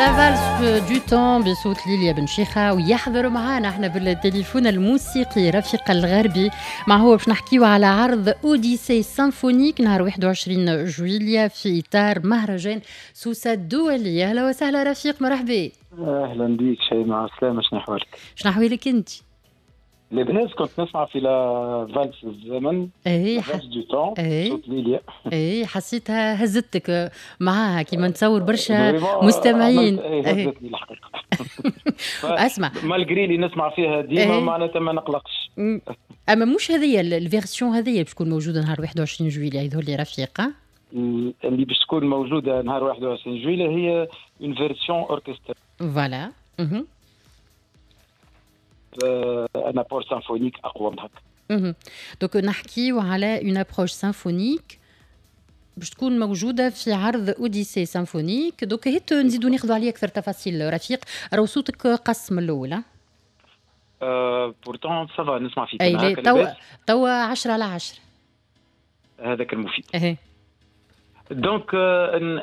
La valse du temps بصوت ليليا بن شيخة. ويحضر معنا احنا بالتليفون الموسيقي رفيق الغربي، مع هو باش نحكيو على عرض Odyssée symphonique نهار 21 جويليا في اطار مهرجان سوسة الدولي. اهلا وسهلا رفيق، مرحبا. اهلا بك شيماء، عسلامة، شنو احوالك؟ شنو احوالك انت؟ لاباس، كنت نسمع في la valse الزمن. Valse du temps. صوت ليليا. اي، حسيتها هزتك معاها كيما نتصور برشا مستمعين. هزتني الحقيقه. اسمع، malgré اللي نسمع فيها ديما معناتها ما نقلقش. اما مش هذه ال version هذه باش تكون موجودة نهار 21 جويليا، يظهر لي رفيقه. اللي باش تكون موجودة نهار 21 جويليا هي une version orchestrale. Voilà. Un apport symphonique اقوى من هكا. Donc نحكيو على une approche symphonique باش تكون موجودة في عرض Odyssée symphonique. Donc هيت نزيدو ناخذوا عليه اكثر تفاصيل. رفيق، راهو صوتك قص من الاول. Pourtant ça va، نسمع فيك. اي، توا 10 على 10. هذاك المفيد. ايه، donc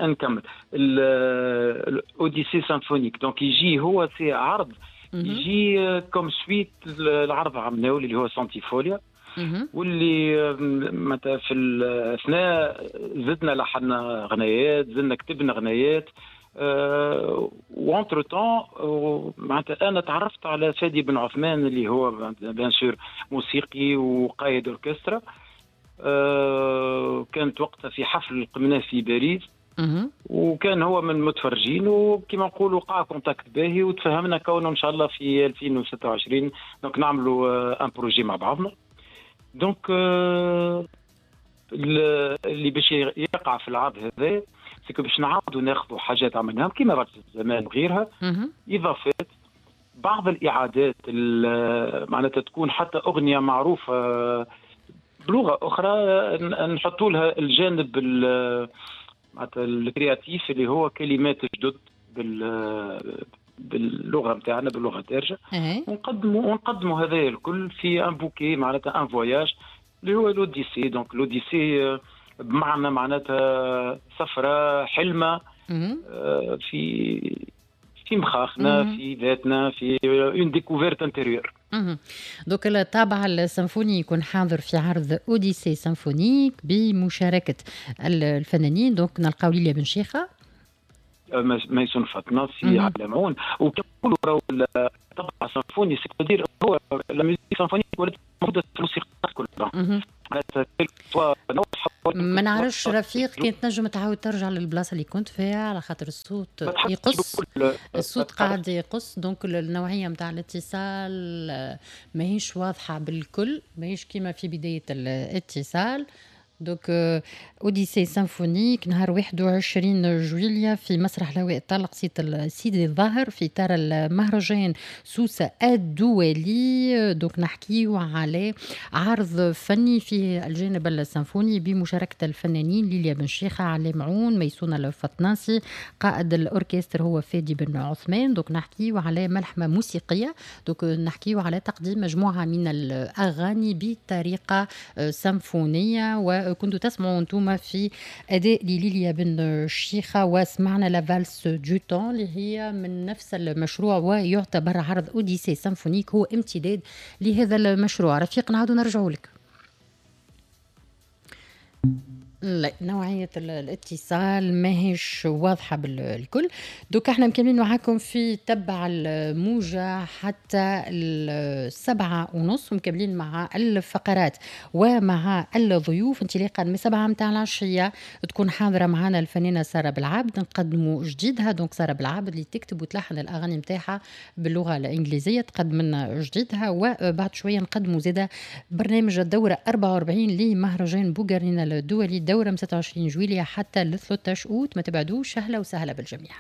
نكمل ال Odyssée symphonique. donc يجي هو c'est عرض يجي comme suite العرض عملناه اللي هو سانتيفوليا، واللي معناتها في الاثناء زدنا لحنا غنايات، زدنا كتبنا غنايات، و entre-temps معناتها انا تعرفت على فادي بن عثمان اللي هو bien sûr موسيقي وقائد اوركسترا. كانت وقتها في حفل قمناه في باريس، وكان هو من المتفرجين، وكما نقولوا وقع contact باهي وتفهمنا كونه ان شاء الله في 2026 donc نعملوا un projet مع بعضنا. donc اللي باش يقع في العرض هذا c'est que باش نعاودوا ناخذوا حاجات عملناهم كيما رجل الزمان وغيرها، اضافات، بعض الاعادات، معناتها تكون حتى اغنية معروفة بلغه اخرى نحطوا لها الجانب معناتها ال créatif اللي هو كلمات جدد باللغة نتاعنا، باللغة الدارجه، ونقدموا هذا الكل في un bouquet، معناتها un voyage اللي هو l'Odyssée. donc l'Odyssée بمعنى معناتها سفره، حلمه في مخاخنا، في ذاتنا، في une découverte intérieure. Donc الطابع السيمفوني يكون حاضر في عرض Odyssée symphonique بمشاركة الفنانين. donc نلقاو ليليا بن شيخه، ميسون فطناسي، علام عون. وكنقولوا راهو الطابع السيمفوني، c'est-à-dire هو la musique symphonique ولات موجودة في الموسيقى كلها. ما نعرفش رفيق كنت تنجم تعاود ترجع للبلاصه اللي كنت فيها، على خاطر الصوت يقص، الصوت قاعد يقص. donc النوعية نتاع الاتصال ماهيش واضحة بالكل، ماهيش كيما في بداية الاتصال. donc Odyssée symphonique نهار 21 جويليا في مسرح الهواء الطلق سيدي الظاهر في اطار المهرجان سوسة الدولي. donc نحكيو على عرض فني فيه الجانب السيمفوني بمشاركة الفنانين ليليا بن شيخه، علي معون، ميسون الفطناسي، قائد الاوركستر هو فادي بن عثمان. donc نحكيو على ملحمة موسيقيه، donc نحكيو على تقديم مجموعة من الاغاني بطريقة سيمفونيه. وكنتوا تسمعوا انتم في اداء لليليا بن شيخه، وسمعنا la valse du temps اللي هي من نفس المشروع، ويعتبر عرض Odyssée symphonique هو امتداد لهذا المشروع. رفيق، نعاودوا نرجعوا لك. لا، نوعية الاتصال ماهيش واضحة بالكل. donc احنا مكملين معاكم في تبع الموجة حتى 7:30، ومكملين مع الفقرات ومع الضيوف. انطلاقا من 7 متاع العشية تكون حاضرة معنا الفنانة سارة بالعبد، نقدموا جديدها. donc سارة بالعبد اللي تكتب وتلحن الأغاني متاعها باللغة الإنجليزية تقدم لنا جديدها. وبعد شوية نقدموا زادة برنامج الدورة 44 لمهرجان بوغارنينا الدولي، دورة من 26 جويلية حتى ل 13 أوت. ما تبعدوش. أهلا وسهلا بالجميع.